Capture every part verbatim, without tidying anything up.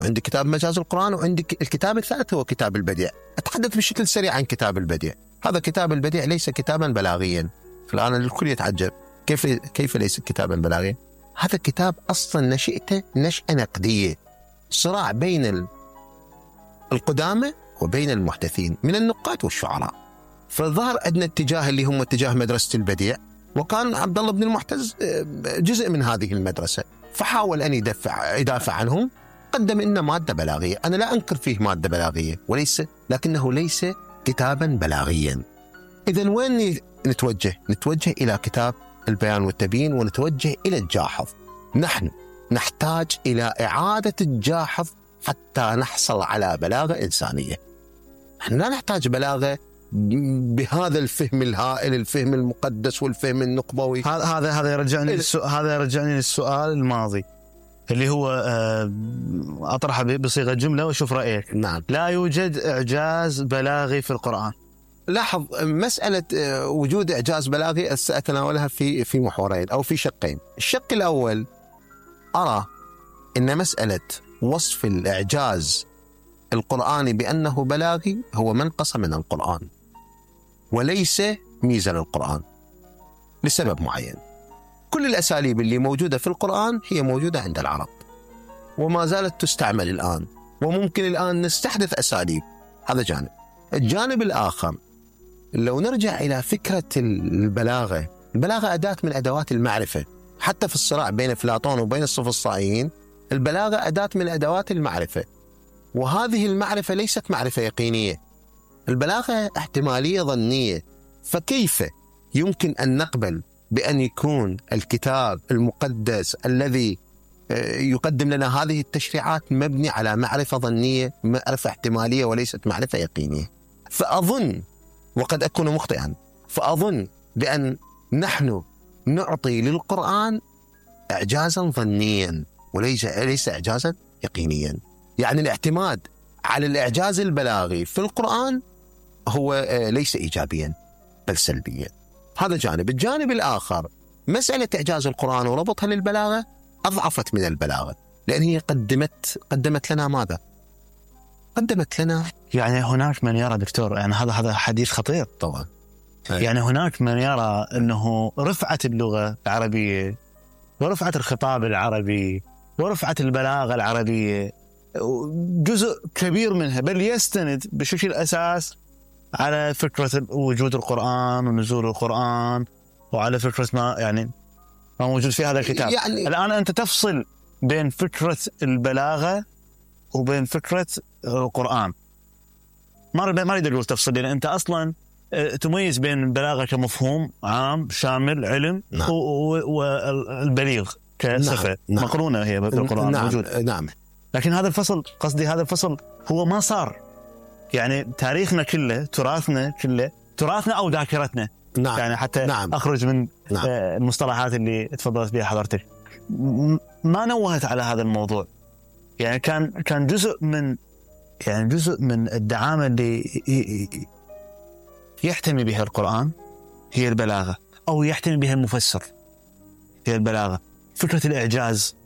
عندي كتاب مجاز القرآن، وعندي الكتاب الثالث هو كتاب البديع. أتحدث بشكل سريع عن كتاب البديع. هذا كتاب البديع ليس كتابا بلاغيا. الآن الكل يتعجب كيف كيف ليس كتابا بلاغيا؟ هذا كتاب أصلا نشأته نشأة نقدية، صراع بين القدامى وبين المحدثين من النقاد والشعراء. فظهر أدنى اتجاه اللي هم اتجاه مدرسة البديع، وكان عبد الله بن المعتز جزء من هذه المدرسة، فحاول أن يدافع يدافع عنهم. قدم لنا مادة بلاغية، أنا لا أنكر فيه مادة بلاغية وليس، لكنه ليس كتابا بلاغيا. إذن وين نتوجه؟ نتوجه إلى كتاب البيان والتبيين، ونتوجه إلى الجاحظ. نحن نحتاج إلى إعادة الجاحظ حتى نحصل على بلاغة إنسانية. نحن لا نحتاج بلاغة بهذا الفهم الهائل، الفهم المقدس والفهم النقبوي. هذا هذا هذا يرجعني للسؤال هذا يرجعني للسؤال الماضي اللي هو أطرحه بصيغة جملة وشوف رأيك. نعم. لا يوجد إعجاز بلاغي في القرآن. لاحظ مسألة وجود إعجاز بلاغي سأتناولها في في محورين أو في شقين. الشق الأول، أرى إن مسألة وصف الإعجاز القرآني بأنه بلاغي هو منقص من القرآن وليس ميزة للقرآن لسبب معين. كل الأساليب اللي موجودة في القرآن هي موجودة عند العرب وما زالت تستعمل الآن، وممكن الآن نستحدث أساليب. هذا جانب. الجانب الآخر، لو نرجع إلى فكرة البلاغة، البلاغة أداة من أدوات المعرفة. حتى في الصراع بين أفلاطون وبين السفسطائيين، البلاغة أداة من أدوات المعرفة، وهذه المعرفة ليست معرفة يقينية. البلاغة احتمالية ظنية. فكيف يمكن أن نقبل بأن يكون الكتاب المقدس الذي يقدم لنا هذه التشريعات مبني على معرفة ظنية، معرفة احتمالية وليست معرفة يقينية؟ فأظن، وقد أكون مخطئا، فأظن بأن نحن نعطي للقرآن إعجازا ظنيا وليس ليس إعجازا يقينيا. يعني الاعتماد على الإعجاز البلاغي في القرآن هو ليس إيجابيا بل سلبيا. هذا جانب. الجانب الآخر، مسألة إعجاز القرآن وربطها للبلاغة أضعفت من البلاغة، لأن هي قدمت قدمت لنا ماذا؟ قدمت لنا يعني هناك من يرى دكتور، يعني هذا هذا حديث خطير طبعا. يعني هناك من يرى أنه رفعت اللغة العربية ورفعت الخطاب العربي ورفعت البلاغة العربية جزء كبير منها، بل يستند بشكل أساس على فكرة وجود القرآن ونزول القرآن، وعلى فكرة ما يعني ما موجود في هذا الكتاب. يعني الآن أنت تفصل بين فكرة البلاغة وبين فكرة القرآن. ما ما أريد أقول تفصل، لأن أنت أصلا تميز بين البلاغة كمفهوم عام شامل علم، نعم. والبليغ كصفة، نعم. مقرونة هي بالقرآن، نعم. موجود. نعم. لكن هذا الفصل، قصدي هذا الفصل هو ما صار. يعني تاريخنا كله، تراثنا كله، تراثنا أو ذاكرتنا، نعم. يعني حتى نعم. أخرج من نعم. المصطلحات اللي تفضلت بها حضرتك، ما نوهت على هذا الموضوع. يعني كان كان جزء من يعني جزء من الدعامة اللي يحتمي بها القرآن هي البلاغة، أو يحتمي بها المفسر هي البلاغة. فكرة الإعجاز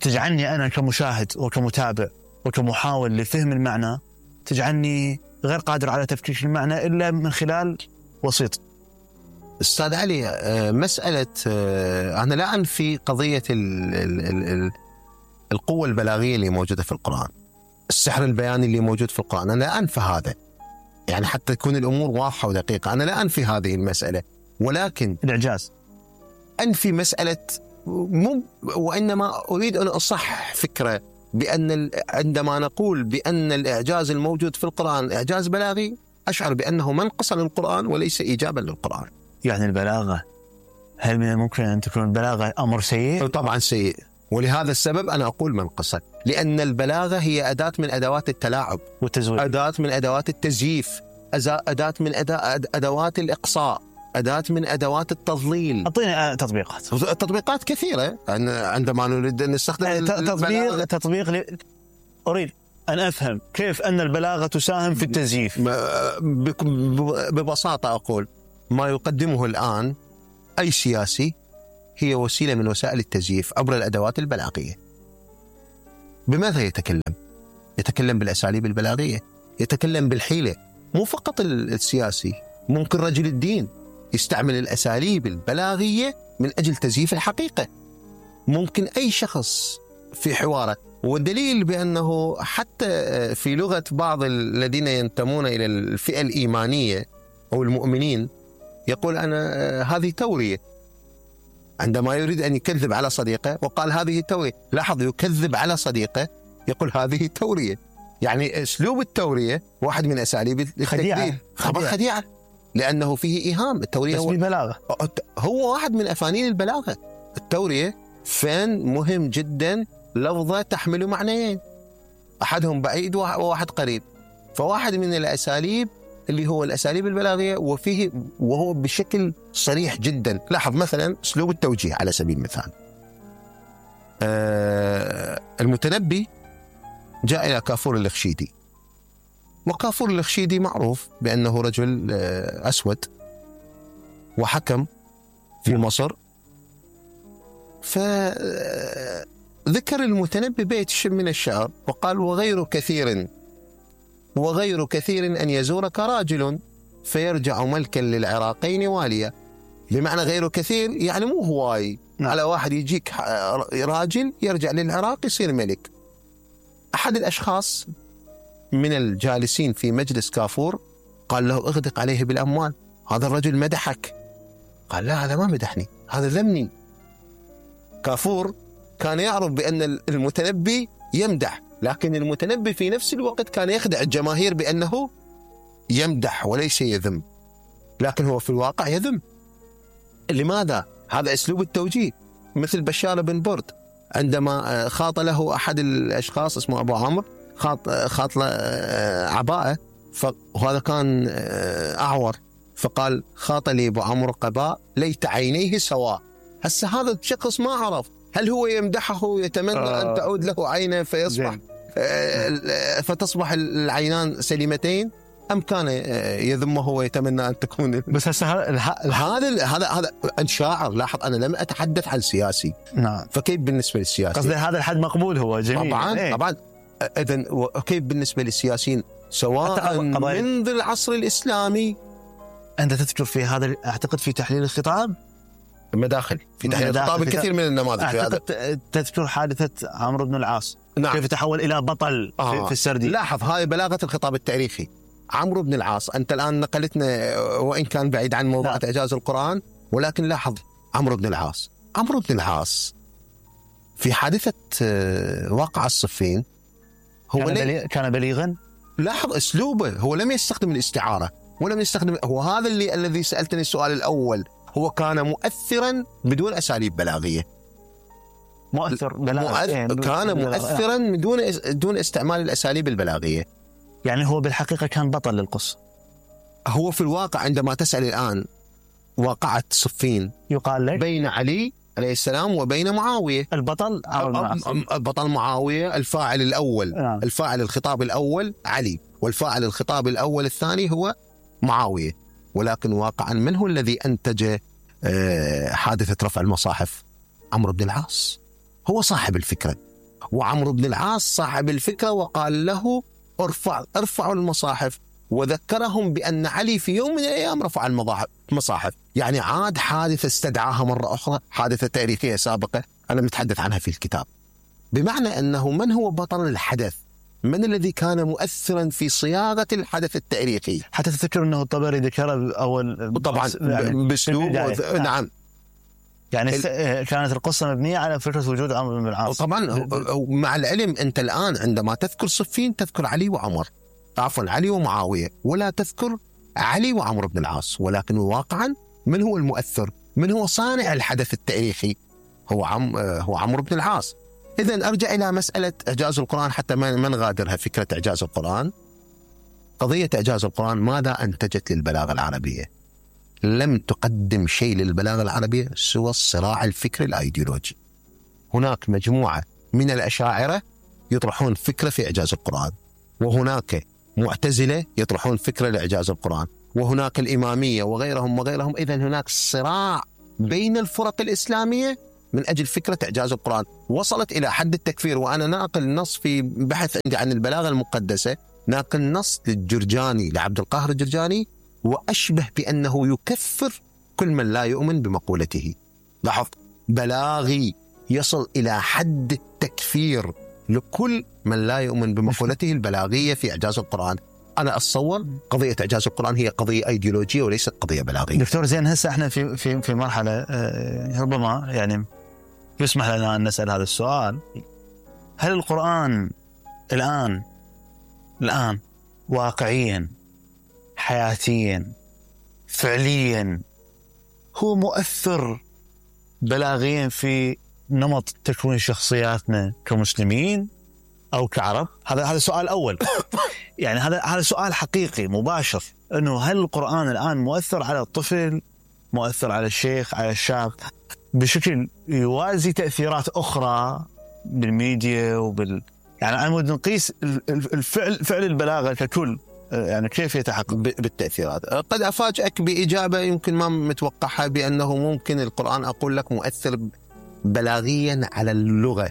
تجعلني أنا كمشاهد وكمتابع وكمحاول لفهم المعنى، تجعلني غير قادر على تفكيك المعنى إلا من خلال وسيط. أستاذ علي، مسألة أنا لا أنفي قضية ال ال ال القوة البلاغية اللي موجودة في القرآن، السحر البياني اللي موجود في القرآن، أنا لا أنفي هذا، يعني حتى تكون الأمور واضحة ودقيقة، أنا لا أنفي هذه المسألة، ولكن الإعجاز أنفي مسألة مو، وإنما أريد أن أصح فكرة بأن عندما نقول بأن الإعجاز الموجود في القرآن إعجاز بلاغي، أشعر بأنه منقصا للقرآن وليس إيجابا للقرآن. يعني البلاغة، هل من الممكن أن تكون البلاغة أمر سيء؟ طبعا سيء، ولهذا السبب أنا أقول منقصا، لأن البلاغة هي أداة من أدوات التلاعب والتزوير، أداة من أدوات التزييف، أداة من أدوات الإقصاء، أداة من أدوات التضليل. أعطيني تطبيقات. تطبيقات كثيرة عندما نريد أن نستخدم تطبيق تطبيق ل... أريد أن أفهم كيف أن البلاغة تساهم في التزييف. ببساطة أقول ما يقدمه الآن أي سياسي هي وسيلة من وسائل التزييف عبر الأدوات البلاغية. بماذا يتكلم؟ يتكلم بالأساليب البلاغية، يتكلم بالحيلة. مو فقط السياسي، ممكن رجل الدين يستعمل الأساليب البلاغية من أجل تزييف الحقيقة. ممكن أي شخص في حواره. والدليل بأنه حتى في لغة بعض الذين ينتمون إلى الفئة الإيمانية أو المؤمنين يقول أنا هذه تورية، عندما يريد أن يكذب على صديقه وقال هذه تورية. لاحظ، يكذب على صديقه يقول هذه تورية. يعني أسلوب التورية واحد من أساليب التكذيب، خبر خديعة، لأنه فيه إيهام. التورية هو بلاغة، هو واحد من أفانين البلاغة. التورية فن مهم جدا، لفظة تحمل معنيين، أحدهم بعيد وواحد قريب. فواحد من الأساليب اللي هو الأساليب البلاغية، وفيه وهو بشكل صريح جدا. لاحظ مثلا أسلوب التوجيه على سبيل المثال. آه المتنبي جاء إلى كافور الخشيدي، وكافور الخشيدي معروف بأنه رجل آه أسود وحكم في مصر. فذكر المتنبي بيت من الشعر وقال وغير كثير وغير كثير أن يزورك راجل فيرجع ملكا للعراقين واليا. بمعنى غير كثير يعني مو هواي، على واحد يجيك راجل يرجع للعراق يصير ملك. أحد الأشخاص من الجالسين في مجلس كافور قال له اغدق عليه بالأموال، هذا الرجل مدحك. قال لا، هذا ما مدحني، هذا ذمني. كافور كان يعرف بأن المتنبي يمدح، لكن المتنبي في نفس الوقت كان يخدع الجماهير بأنه يمدح وليس يذم، لكن هو في الواقع يذم. لماذا؟ هذا أسلوب التوجيه. مثل بشار بن برد عندما خاط له أحد الأشخاص اسمه أبو عمرو، خاط خاط له عباءة، وهذا كان أعور، فقال خاط لي أبو عمرو قباء ليت عينيه سواء. هسه هذا الشخص ما عرف هل هو يمدحه يتمنى آه أن تعود له عينه فيصبح آه فتصبح العينان سليمتين، أم كان يذمه ويتمنى أن تكون. بس هسه هذا هذا هذا شاعر. لاحظ أنا لم أتحدث عن سياسي. نعم. فكيف بالنسبة للسياسي؟ قصدي هذا الحد مقبول هو جميل. طبعا ايه؟ طبعا. إذن كيف بالنسبة للسياسيين سواء منذ العصر الإسلامي؟ أنت تذكر في هذا، أعتقد في تحليل الخطاب مداخل في تحليل الخطاب الكثير من النماذج في هذا. تذكر حادثة عمرو بن العاص. نعم. كيف تحول إلى بطل آه. في السردي. لاحظ هاي بلاغة الخطاب التاريخي. عمرو بن العاص، أنت الآن نقلتنا وإن كان بعيد عن موضوع إعجاز القرآن، ولكن لاحظ عمرو بن العاص. عمرو بن العاص في حادثة واقعة الصفين هو كان, بلي... كان بليغا. لاحظ أسلوبه، هو لم يستخدم الاستعارة ولم يستخدم، هو هذا اللي الذي سألتني السؤال الأول، هو كان مؤثرا بدون أساليب بلاغية. مؤثر بلاغية. مؤث... كان مؤثرا بدون دون استعمال الأساليب البلاغية. يعني هو بالحقيقة كان بطل للقصة. هو في الواقع عندما تسأل الآن واقعة صفين يقال لك بين علي عليه السلام وبين معاوية، البطل البطل معاوية، الفاعل الأول نعم. الفاعل الخطاب الأول علي، والفاعل الخطاب الأول الثاني هو معاوية. ولكن واقعا من هو الذي أنتج حادثة رفع المصاحف؟ عمرو بن العاص هو صاحب الفكرة، وعمرو بن العاص صاحب الفكرة وقال له ارفع ارفعوا المصاحف، وذكرهم بأن علي في يوم من الأيام رفع المصاحف. يعني عاد حادثة استدعاها مرة أخرى، حادثة تاريخية سابقة أنا متحدث عنها في الكتاب. بمعنى أنه من هو بطل الحدث؟ من الذي كان مؤثرا في صياغة الحدث التاريخي؟ حتى تذكر أنه الطبري ذكره أول طبعا بأسلوب. نعم. يعني ال... كانت القصة مبنية على فكرة وجود عمرو بن العاص. طبعا مع العلم أنت الآن عندما تذكر صفين تذكر علي وعمر، عفوا علي ومعاوية، ولا تذكر علي وعمرو بن العاص. ولكن واقعا من هو المؤثر؟ من هو صانع الحدث التاريخي؟ هو عم هو عمرو بن العاص. إذن أرجع إلى مسألة إعجاز القرآن حتى ما نغادرها فكرة إعجاز القرآن. قضية إعجاز القرآن ماذا أنتجت للبلاغة العربية؟ لم تقدم شيء للبلاغة العربية سوى الصراع الفكري الأيديولوجي. هناك مجموعة من الأشاعرة يطرحون فكرة في إعجاز القرآن، وهناك معتزلة يطرحون فكرة لإعجاز القرآن، وهناك الإمامية وغيرهم وغيرهم. إذن هناك صراع بين الفرق الإسلامية من أجل فكرة إعجاز القرآن، وصلت إلى حد التكفير. وأنا ناقل نص في بحث عندي عن البلاغة المقدسة، ناقل نص للجرجاني لعبد القاهر الجرجاني، وأشبه بأنه يكفر كل من لا يؤمن بمقولته. لاحظ، بلاغي يصل إلى حد التكفير لكل من لا يؤمن بمقولته البلاغية في إعجاز القرآن. أنا أتصور قضية إعجاز القرآن هي قضية أيديولوجية وليست قضية بلاغية. دكتور زين، هسه احنا في في في مرحلة ربما يعني يسمح لنا أن نسأل هذا السؤال: هل القرآن الآن الآن واقعيا حياتيا فعليا هو مؤثر بلاغيا في نمط تكوين شخصياتنا كمسلمين أو كعرب؟ هذا هذا السؤال الأول. يعني هذا هذا سؤال حقيقي مباشر، إنه هل القرآن الآن مؤثر على الطفل، مؤثر على الشيخ، على الشاب بشكل يوازي تأثيرات أخرى بالميديا وبال يعني أنا ودي نقيس الفعل فعل البلاغة ككل، يعني كيف يتحقق بالتأثيرات. قد أفاجئك بإجابة يمكن ما متوقعها، بأنه ممكن القرآن أقول لك مؤثر بلاغيا على اللغة،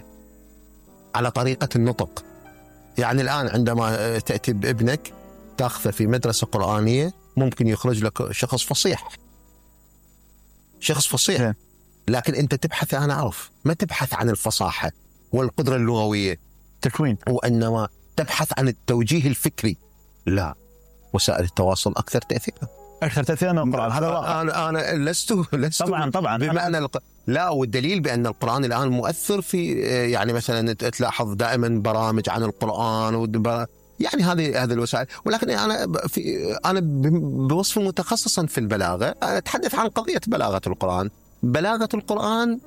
على طريقة النطق. يعني الآن عندما تأتي بابنك تأخذه في مدرسة قرآنية ممكن يخرج لك شخص فصيح، شخص فصيح، لكن أنت تبحث، أنا أعرف، ما تبحث عن الفصاحة والقدرة اللغوية تكوين، وإنما تبحث عن التوجيه الفكري. لا، وسائل التواصل أكثر تأثيرا، أكثر تأثيرا من القرآن. هذا واقع. أنا أنا لست لست طبعا طبعا بمعنى الق... لا، والدليل بأن القرآن الآن مؤثر في، يعني مثلا تلاحظ دائما برامج عن القرآن وبر... يعني هذه هذه الوسائل. ولكن أنا في أنا بوصف متخصصا في البلاغة أتحدث عن قضية بلاغة القرآن. بلاغة القرآن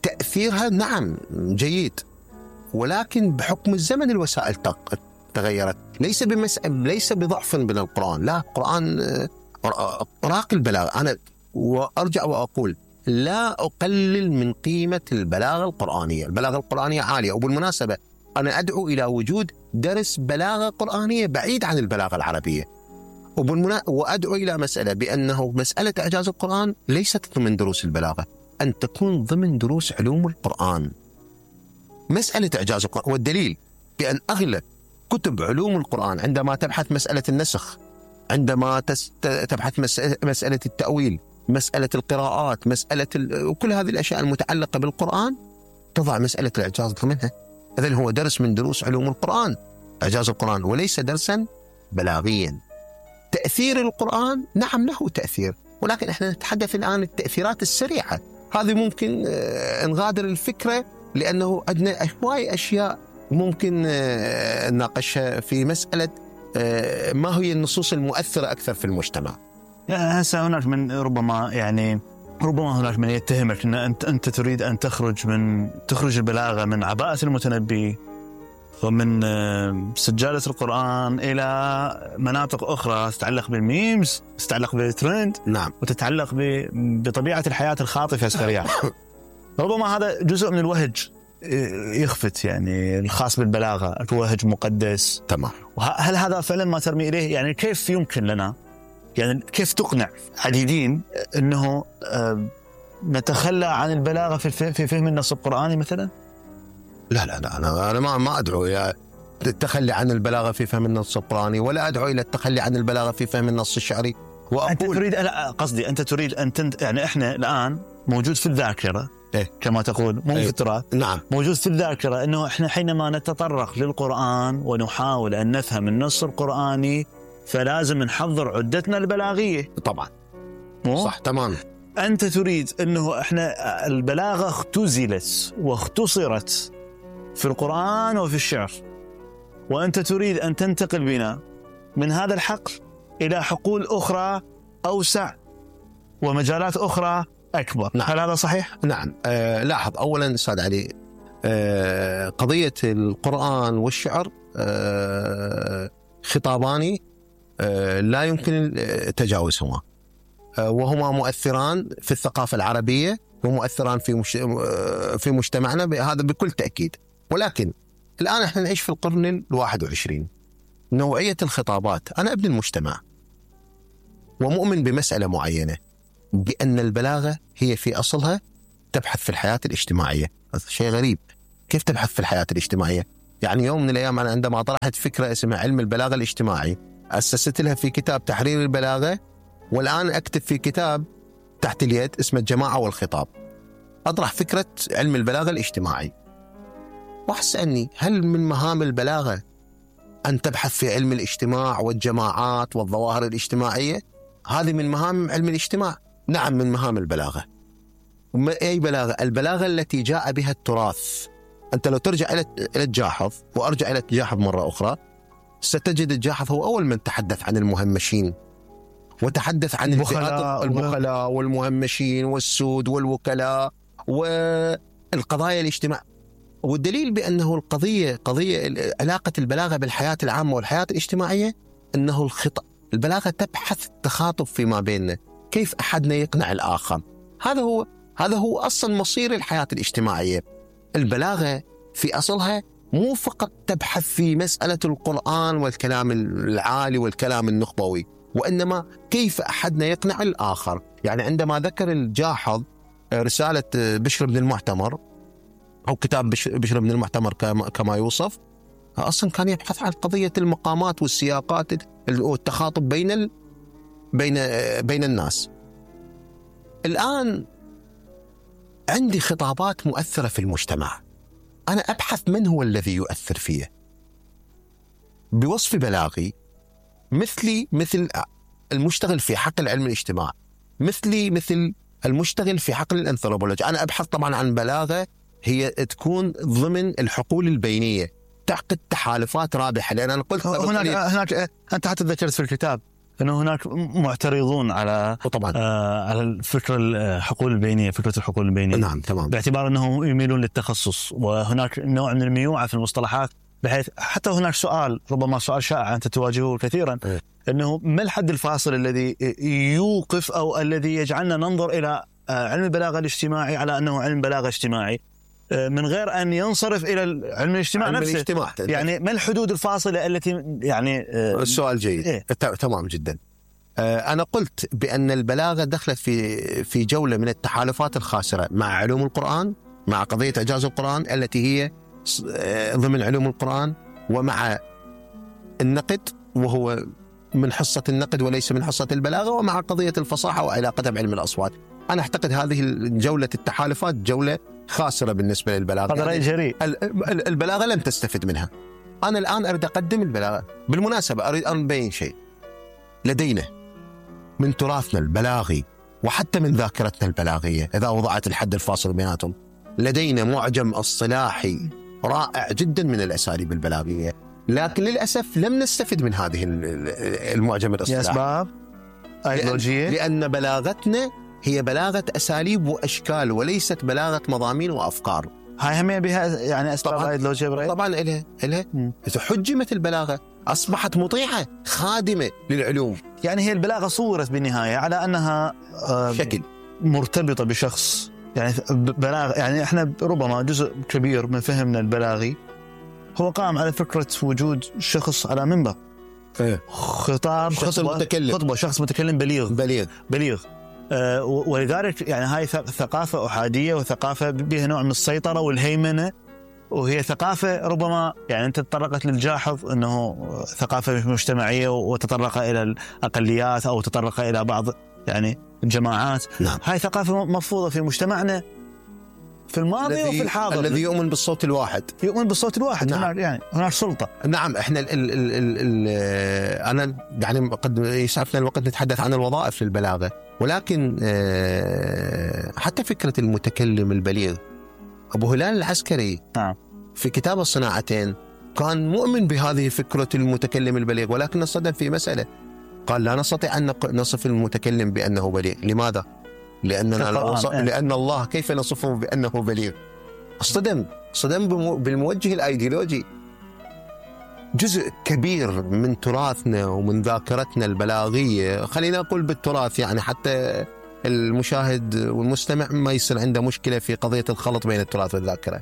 تأثيرها نعم جيد، ولكن بحكم الزمن الوسائل تغيرت، ليس بمس... ليس بضعف من القرآن، لا، القرآن راقي البلاغة. أنا وأرجع وأقول لا أقلل من قيمة البلاغة القرآنية، البلاغة القرآنية عالية. وبالمناسبة أنا أدعو إلى وجود درس بلاغة قرآنية بعيد عن البلاغة العربية. وبالمنا... وأدعو إلى مسألة بأنه مسألة إعجاز القرآن ليست ضمن دروس البلاغة، أن تكون ضمن دروس علوم القرآن. مسألة إعجاز القرآن، والدليل بأن أغلب كتب علوم القرآن عندما تبحث مسألة النسخ، عندما تس... تبحث مس... مسألة التأويل، مسألة القراءات، مسألة ال... وكل هذه الأشياء المتعلقة بالقرآن تضع مسألة الإعجاز ضمنها. إذن هو درس من دروس علوم القرآن، إعجاز القرآن، وليس درسا بلاغيا. تأثير القرآن نعم له تأثير، ولكن احنا نتحدث الآن التأثيرات السريعة. هذه ممكن نغادر الفكرة، لأنه عندنا هواي أشياء ممكن نناقشها في مسألة ما هي النصوص المؤثرة أكثر في المجتمع. هسه هناك من ربما يعني ربما هناك من يتهمك أن أنت أنت تريد أن تخرج من تخرج البلاغة من عباءة المتنبي ومن سجالة القرآن إلى مناطق أخرى تتعلق بالميمز، تتعلق بالترند، نعم، وتتعلق بطبيعة الحياة الخاطفة السريعة. ربما هذا جزء من الوهج يخفت، يعني الخاص بالبلاغة، الوهج مقدس. تمام. هل هذا فعلا ما ترمي إليه؟ يعني كيف يمكن لنا، يعني كيف تقنع عديدين أنه نتخلى عن البلاغة في فهم النص القرآني مثلا؟ لا لا لا أنا أنا ما ما أدعو إلى التخلي عن البلاغة في فهم النص القرآني، ولا أدعو إلى التخلي عن البلاغة في فهم النص الشعري. وأقول أنت تريد، لا قصدي أنت تريد أن تنت... يعني إحنا الآن موجود في الذاكرة، إيه؟ كما تقول، مو إيه؟ في التراث. نعم، موجود في الذاكرة أنه إحنا حينما نتطرق للقرآن ونحاول أن نفهم النص القرآني فلازم نحضر عدتنا البلاغية. طبعا مو؟ صح تمام. أنت تريد أنه إحنا البلاغة اختزلت واختصرت في القرآن وفي الشعر، وأنت تريد أن تنتقل بنا من هذا الحقل إلى حقول أخرى أوسع ومجالات أخرى أكبر. نعم. هل هذا صحيح؟ نعم. آه لاحظ أولا أستاذ علي، آه قضية القرآن والشعر آه خطاباني آه لا يمكن تجاوزهما، آه وهما مؤثران في الثقافة العربية ومؤثران في مش... في مجتمعنا، هذا بكل تأكيد. ولكن الآن احنا نعيش في القرن الواحد وعشرين، نوعية الخطابات، أنا ابن المجتمع ومؤمن بمسألة معينة، بأن البلاغة هي في أصلها تبحث في الحياة الاجتماعية. هذا شيء غريب، كيف تبحث في الحياة الاجتماعية؟ يعني يوم من الأيام أنا عندما طرحت فكرة اسمها علم البلاغة الاجتماعي أسست لها في كتاب تحرير البلاغة، والآن أكتب في كتاب تحت اليد اسمه الجماعة والخطاب، أطرح فكرة علم البلاغة الاجتماعي. وأسألني هل من مهام البلاغة أن تبحث في علم الاجتماع والجماعات والظواهر الاجتماعية؟ هذه من مهام علم الاجتماع. نعم من مهام البلاغة. أي بلاغة؟ البلاغة التي جاء بها التراث. أنت لو ترجع إلى الجاحظ، وأرجع إلى الجاحظ مرة أخرى، ستجد الجاحظ هو أول من تحدث عن المهمشين، وتحدث عن البخلاء البخلاء والمهمشين والسود والوكلاء والقضايا الاجتماع. والدليل بأنه القضية قضية علاقة البلاغة بالحياة العامة والحياة الاجتماعية أنه الخطأ. البلاغة تبحث التخاطب فيما بيننا، كيف أحدنا يقنع الآخر. هذا هو هذا هو أصل مصير الحياة الاجتماعية. البلاغة في أصلها مو فقط تبحث في مسألة القرآن والكلام العالي والكلام النخبوي، وإنما كيف أحدنا يقنع الآخر. يعني عندما ذكر الجاحظ رسالة بشر بن المعتمر أو كتاب بشر بن المعتمر كما يوصف، أصلا كان يبحث عن قضية المقامات والسياقات والتخاطب بين ال... بين بين الناس. الآن عندي خطابات مؤثرة في المجتمع، أنا أبحث من هو الذي يؤثر فيه بوصف بلاغي، مثلي مثل المشتغل في حقل علم الاجتماع، مثلي مثل المشتغل في حقل الأنثروبولوجيا. أنا أبحث طبعا عن بلاغة هي تكون ضمن الحقول البينية، تعقد تحالفات رابحة. لأن أنا قلت هناك, هناك أنت حتى ذكرت في الكتاب أنه هناك معترضون على طبعا آه على الفكرة الحقول البينية، فكرة الحقول البينية. نعم تمام. باعتبار أنه يميلون للتخصص، وهناك نوع من الميوعة في المصطلحات، بحيث حتى هناك سؤال ربما سؤال شائع أنت تواجهه كثيرا، إيه؟ أنه ما الحد الفاصل الذي يوقف أو الذي يجعلنا ننظر إلى علم البلاغة الاجتماعي على أنه علم بلاغة اجتماعي من غير أن ينصرف إلى علم الاجتماع علم نفسه؟ الاجتماع. يعني ما الحدود الفاصلة التي يعني السؤال جيد. إيه؟ تمام جدا. أنا قلت بأن البلاغة دخلت في في جولة من التحالفات الخاسرة مع علوم القرآن، مع قضية إعجاز القرآن التي هي ضمن علوم القرآن، ومع النقد وهو من حصة النقد وليس من حصة البلاغة، ومع قضية الفصاحة وعلاقتها بعلم الأصوات. أنا أعتقد هذه جولة التحالفات جولة خاسرة بالنسبة للبلاغة. هذا رأي جريء. البلاغة لم تستفد منها. أنا الآن أريد أقدم البلاغة. بالمناسبة أريد أن أبين شيء. لدينا من تراثنا البلاغي وحتى من ذاكرتنا البلاغية، إذا وضعت الحد الفاصل بيناتهم، لدينا معجم اصطلاحي رائع جدا من الأساليب البلاغية، لكن للأسف لم نستفد من هذه المعجم الاصطلاحي. لأسباب أيديولوجية، لأن بلاغتنا هي بلاغة أساليب وأشكال وليست بلاغة مضامين وأفكار. هاي هم بها يعني أسباب أيديولوجية برأيك؟ طبعا إلها إلها حجمت البلاغة، أصبحت مطيعة خادمة للعلوم. يعني هي البلاغة صورت بالنهاية على أنها شكل مرتبطة بشخص، يعني بلاغ، يعني إحنا ربما جزء كبير من فهمنا البلاغي هو قام على فكرة وجود شخص على منبر، إيه؟ خطاب، شخص خطبة متكلم، خطبة شخص متكلم بليغ بليغ بليغ آه ولذلك يعني هاي ثقافة أحادية، وثقافة بها نوع من السيطرة والهيمنة، وهي ثقافة ربما يعني أنت تطرقت للجاحظ أنه ثقافة مجتمعية وتطرق إلى الأقليات أو تطرق إلى بعض يعني الجماعات. نعم. هاي ثقافة مفروضة في مجتمعنا في الماضي وفي الحاضر، الذي يؤمن بالصوت الواحد، يؤمن بالصوت الواحد. نعم. هناك يعني هناك سلطة. نعم. احنا ال ال ال ال ال انا يعني قد يسعفنا الوقت نتحدث عن الوظائف للبلاغة، ولكن حتى فكرة المتكلم البليغ، أبو هلال العسكري نعم. في كتاب الصناعتين كان مؤمن بهذه فكرة المتكلم البليغ، ولكن الصدم في مسألة، قال لا نستطيع أن نصف المتكلم بأنه بليغ. لماذا؟ لأننا وصف... لأن الله كيف نصفه بأنه بليغ؟ اصطدم صدم بالموجه الأيديولوجي. جزء كبير من تراثنا ومن ذاكرتنا البلاغية، خلينا أقول بالتراث يعني حتى المشاهد والمستمع ما يصير عنده مشكلة في قضية الخلط بين التراث والذاكرة.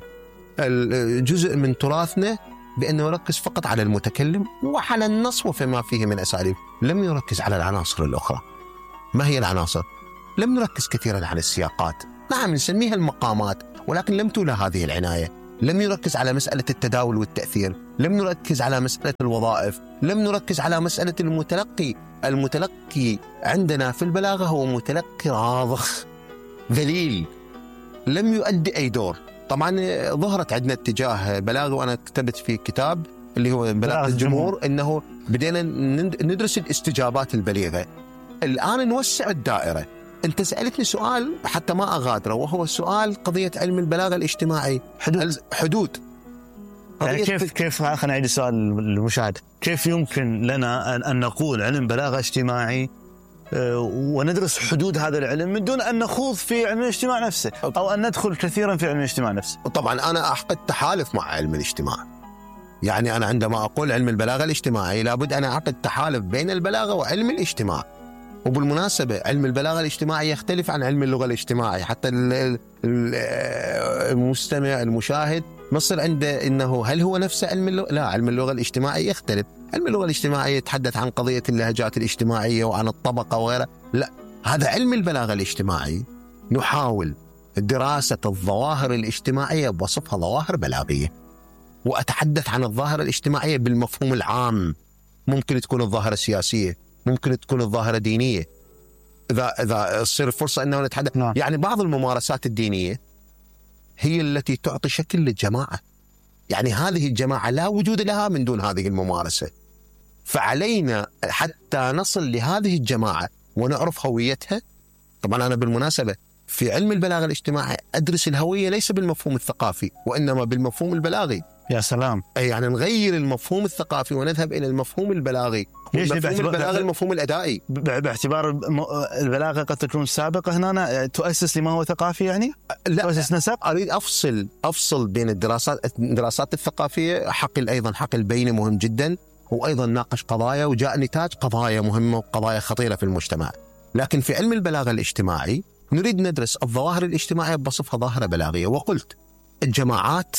الجزء من تراثنا بأنه يركز فقط على المتكلم وعلى النص وفيما فيه من أساليب، لم يركز على العناصر الأخرى. ما هي العناصر؟ لم نركز كثيرا على السياقات، نعم نسميها المقامات، ولكن لم تولى هذه العناية. لم يركز على مسألة التداول والتأثير، لم نركز على مسألة الوظائف، لم نركز على مسألة المتلقي. المتلقي عندنا في البلاغة هو متلقي راضخ ذليل لم يؤدي أي دور. طبعا ظهرت عندنا اتجاه بلاغي، وأنا كتبت في كتاب اللي هو بلاغة الجمهور إنه بدينا ندرس الاستجابات البليغة. الآن نوسع الدائرة. أنت سألتني سؤال حتى ما أغادره، وهو سؤال قضية علم البلاغة الاجتماعي. حدود حدود يعني كيف كيف خلينا نعيد السؤال للمشاهد. كيف يمكن لنا أن نقول علم بلاغة اجتماعي وندرس حدود هذا العلم من دون أن نخوض في علم الاجتماع نفسه أو أن ندخل كثيرا في علم الاجتماع نفسه؟ طبعا أنا أعقد تحالف مع علم الاجتماع. يعني أنا عندما أقول علم البلاغة الاجتماعي لابد أن أعقد تحالف بين البلاغة وعلم الاجتماع. وبالمناسبة علم البلاغة الاجتماعي يختلف عن علم اللغة الاجتماعي. حتى المستمع المشاهد مصر عنده إنه هل هو نفس علم اللغة؟ لا، علم اللغة الاجتماعي يختلف. علم اللغة الاجتماعي يتحدث عن قضية اللهجات الاجتماعية وعن الطبقة وغيرها. لا، هذا علم البلاغة الاجتماعي نحاول دراسة الظواهر الاجتماعية بوصفها ظواهر بلاغية. وأتحدث عن الظاهرة الاجتماعية بالمفهوم العام. ممكن تكون الظاهرة سياسية، ممكن تكون الظاهرة دينية، إذا إذا تصير فرصة أنه نتحدث. نعم. يعني بعض الممارسات الدينية هي التي تعطي شكل للجماعة. يعني هذه الجماعة لا وجود لها من دون هذه الممارسة، فعلينا حتى نصل لهذه الجماعة ونعرف هويتها. طبعا أنا بالمناسبة في علم البلاغة الاجتماعي أدرس الهوية ليس بالمفهوم الثقافي وإنما بالمفهوم البلاغي. يا سلام. أي يعني نغير المفهوم الثقافي ونذهب إلى المفهوم البلاغي. المفهوم البلاغي المفهوم الأدائي، باعتبار البلاغة قد تكون سابقة هنا تؤسس لما هو ثقافي. يعني لا، تؤسس نسب. أريد أفصل أفصل بين الدراسات الدراسات الثقافية. حقل أيضا حقل بيني مهم جدا، وأيضا ناقش قضايا وجاء نتاج قضايا مهمة وقضايا خطيرة في المجتمع. لكن في علم البلاغة الاجتماعي نريد ندرس الظواهر الاجتماعية بوصفها ظاهرة بلاغية. وقلت الجماعات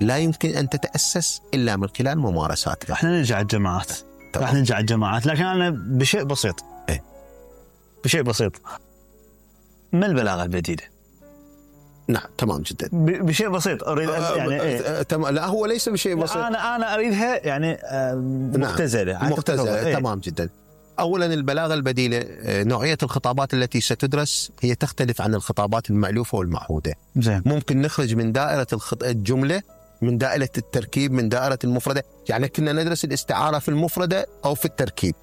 لا يمكن أن تتأسس إلا من خلال ممارساتها. احنا نرجع الجماعات راح نرجع الجماعات لكن أنا بشيء بسيط. إيه؟ بشيء بسيط. ما البلاغة البديلة؟ نعم تمام جدا. بشيء بسيط أريد يعني إيه؟ تم... لا هو ليس بشيء بسيط. أنا أنا أريدها يعني مختزلة. نعم. مختزلة. إيه؟ تمام جدا. أولا البلاغة البديلة نوعية الخطابات التي ستدرس هي تختلف عن الخطابات المألوفة والمعهودة. زين. ممكن نخرج من دائرة الخط... الجملة، من دائرة التركيب، من دائرة المفردة. يعني كنا ندرس الاستعارة في المفردة أو في التركيب،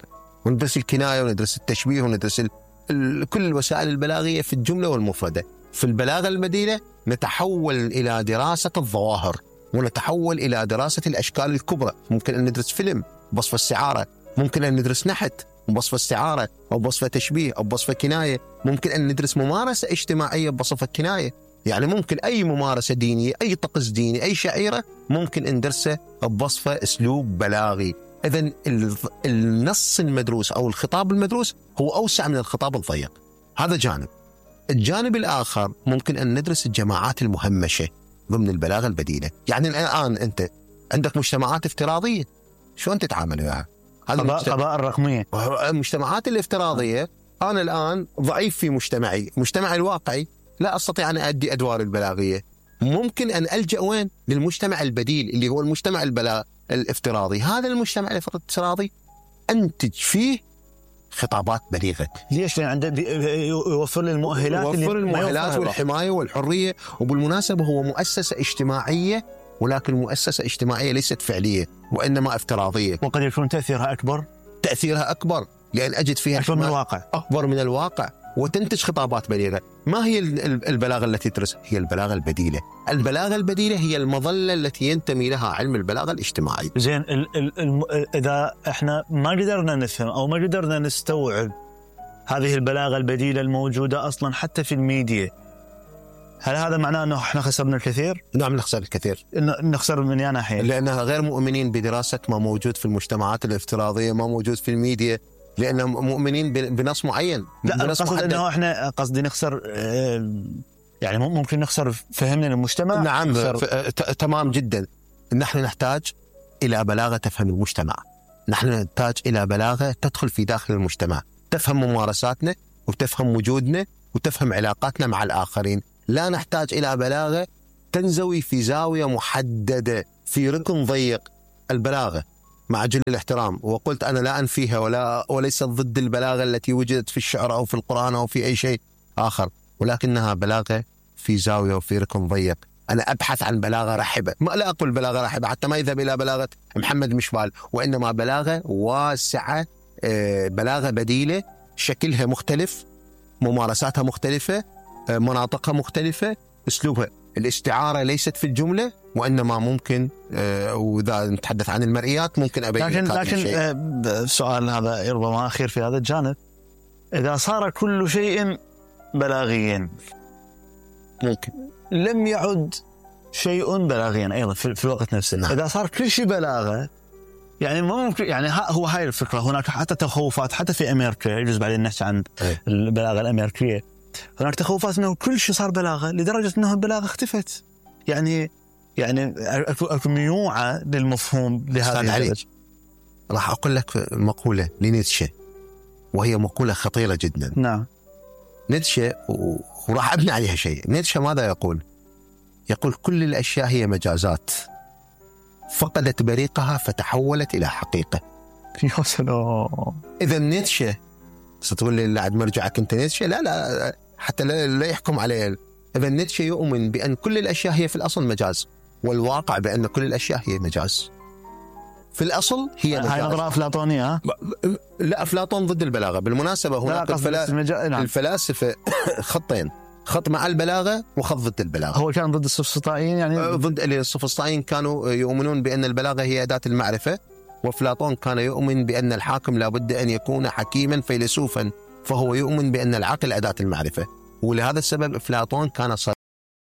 وندرس الكناية وندرس التشبيه وندرس ال... ال... كل الوسائل البلاغية في الجملة والمفردة. في البلاغة البديلة نتحول إلى دراسة الظواهر ونتحول إلى دراسة الأشكال الكبرى. ممكن أن ندرس فيلم بوصف استعارة، ممكن أن ندرس نحت بوصف استعارة أو بوصف تشبيه أو بوصف كناية، ممكن أن ندرس ممارسة اجتماعية بوصف الكناية. يعني ممكن أي ممارسة دينية، أي طقس ديني، أي شعيرة ممكن أن ندرسه بوصف أسلوب بلاغي. إذن النص المدروس أو الخطاب المدروس هو أوسع من الخطاب الضيق. هذا جانب. الجانب الآخر ممكن أن ندرس الجماعات المهمشة ضمن البلاغة البديلة. يعني الآن أنت عندك مجتمعات افتراضية، شلون تتعامل وياها؟ قضاء الرقمية. المجتمعات الافتراضية أنا الآن ضعيف في مجتمعي، مجتمعي الواقعي لا أستطيع أن أؤدي أدوار البلاغية. ممكن أن ألجأ وين؟ للمجتمع البديل اللي هو المجتمع البلاغ الافتراضي. هذا المجتمع الافتراضي أنتج فيه خطابات بليغة. ليش؟ لأن عنده يوفر لي المؤهلات، يوفر المؤهلات والحماية والحرية. وبالمناسبة هو مؤسسة اجتماعية، ولكن مؤسسة اجتماعية ليست فعلية وإنما افتراضية، وقد يكون تأثيرها أكبر. تأثيرها أكبر لأن أجد فيها أكبر من الواقع، أكبر من الواقع، وتنتج خطابات بليغة. ما هي البلاغة التي تدرس؟ هي البلاغة البديلة. البلاغة البديلة هي المظلة التي ينتمي لها علم البلاغة الاجتماعي. زين، ال ال ال إذا إحنا ما قدرنا نفهم أو ما قدرنا نستوعب هذه البلاغة البديلة الموجودة أصلا حتى في الميديا، هل هذا معناه أنه إحنا خسرنا الكثير؟ نعم نخسر الكثير. نخسر من يا ناحية، لأنها غير مؤمنين بدراسة ما موجود في المجتمعات الافتراضية، ما موجود في الميديا، لأنهم مؤمنين بنص معين. لا، قصد أنه إحنا قصدي نخسر، يعني ممكن نخسر فهمنا المجتمع. نعم تمام جدا. نحن نحتاج إلى بلاغة تفهم المجتمع، نحن نحتاج إلى بلاغة تدخل في داخل المجتمع، تفهم ممارساتنا وتفهم وجودنا وتفهم علاقاتنا مع الآخرين. لا نحتاج إلى بلاغة تنزوي في زاوية محددة في ركن ضيق. البلاغة مع جل الاحترام، وقلت أنا لا أنفيها ولا وليست ضد البلاغة التي وجدت في الشعر أو في القرآن أو في أي شيء آخر، ولكنها بلاغة في زاوية وفي ركن ضيق. أنا أبحث عن بلاغة رحبة، ما لا أقول بلاغة رحبة حتى ما يذهب إلى بلاغة محمد مشبال، وإنما بلاغة واسعة، بلاغة بديلة، شكلها مختلف، ممارساتها مختلفة، مناطقها مختلفة، أسلوبها. الاستعارة ليست في الجملة، وإنما ممكن آه وإذا نتحدث عن المرئيات ممكن أبين لكن لكن آه السؤال هذا ربما أخير في هذا الجانب، إذا صار كل شيء بلاغيا ممكن لم يعد شيء بلاغيا أيضا في, في الوقت نفسه. نعم. إذا صار كل شيء بلاغة يعني ممكن، يعني هو هاي الفكرة. هناك حتى تخوفات حتى في أمريكا، يجوز بعدين نحكي عن أي. البلاغة الأمريكية. هناك تخوفات أنه كل شيء صار بلاغة لدرجة أنه البلاغة اختفت. يعني يعني أكو ميوعة للمفهوم لهذا الدرجة. راح أقول لك مقولة لنيتشه، وهي مقولة خطيرة جدا. نعم. نيتشه وراح أبني عليها شيء. نيتشه ماذا يقول؟ يقول كل الأشياء هي مجازات، فقدت بريقها فتحولت إلى حقيقة. يا سلام. إذا نيتشه ستقول لي بعد مرجعك أنت نيتشه، لا لا حتى لا يحكم عليه. إذا نيتشه يؤمن بأن كل الأشياء هي في الأصل مجاز، والواقع بأن كل الأشياء هي مجاز. في الأصل هي مجاز. هاي نظرة أفلاطونية. لا، أفلاطون ضد البلاغة بالمناسبة. هناك الفلا... المجا... نعم. الفلاسفة خطين، خط مع البلاغة وخط ضد البلاغة. هو كان ضد السفسطائيين، يعني ضد السفسطائيين كانوا يؤمنون بأن البلاغة هي أداة المعرفة، وأفلاطون كان يؤمن بأن الحاكم لابد أن يكون حكيما فيلسوفا، فهو يؤمن بأن العقل أداة المعرفة. ولهذا السبب أفلاطون كان صريح